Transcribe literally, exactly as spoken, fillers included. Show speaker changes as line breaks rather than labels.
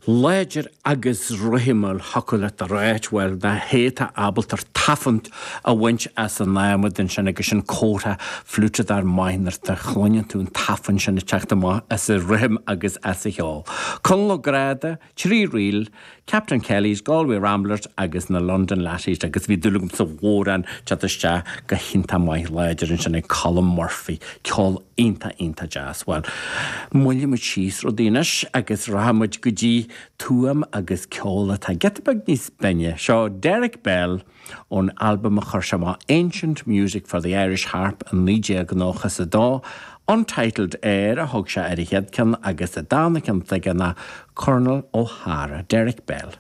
Láidir agus rithimiúil thiocfadh leat a ráit, bhuel, na héata ábalta tafann a bhaint as an adhmad ansin agus sin comhartha fliúiteadóir maith nuair a chluineann tú an tafann sin ag teacht amach as a rithim agus as a cheol. Conall Ó Gráda, trí ríl, Captain Kelly's, Galway Ramblers agus na London Lassies agus bhí dúil agam sa amhrán teacht isteach go hiontach maith láidir ansin ag Colm Murphy, ceol iontach iontach deas. Well, moillfimid síos rudaí anois agus rachaimid go dtí Tuaim agus ceol atá giota beag níos binne. Seo Derek Bell ón albam a chuir sé amach Ancient Music for the Irish Harp an naoi déag nócha is a dó. Untitled Air a thug sé ar a chéad ceann agus an dara ceann ná Colonel O'Hara, Derek Bell.